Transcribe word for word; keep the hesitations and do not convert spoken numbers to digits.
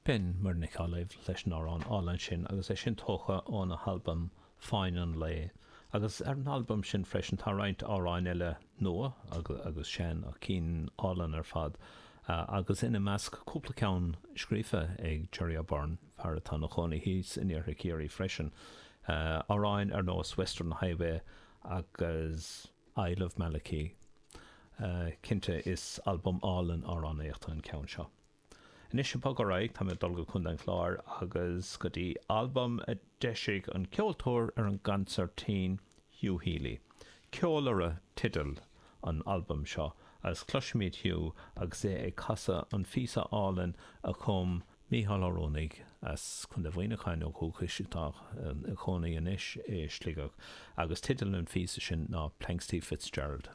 B'in Muireann Nic Amhlaoibh leis an amhrán álainn sin agus é sin tógtha óna halbam Fáinne an Lae. Agus ar an albam sin freisin tá roinnt amhráin eile nua agus, agus sean ach cinn álainn ar fad. Uh, agus ina measc cúpla ceann scríofa ag Jerry O'Byrne, fear atá ina chónaí thíos in iarthar Chiarraí freisin. Uh, amhráin ar nós Western Highway agus Isle of Malachie. Uh, cinnte is albam álainn amhránaíochta an ceann seo. Anois ag bogadh ar aghaidh tá mé ag dul go Contae an Chláir agus go dtí albam a d'eisigh an ceoltóir ar an gconsairtín Hugh Healy. Ceolaire teideal an albaim seo agus cloisfimid Hugh agus é ag casadh an phíosa álainn a chum Mícheál Ó Rónaigh as Contae Mhuineacháin ó dhúchas atá ina chónaí anois i Sligeach agus teideal an phíosa sin ná Planxty Fitzgerald.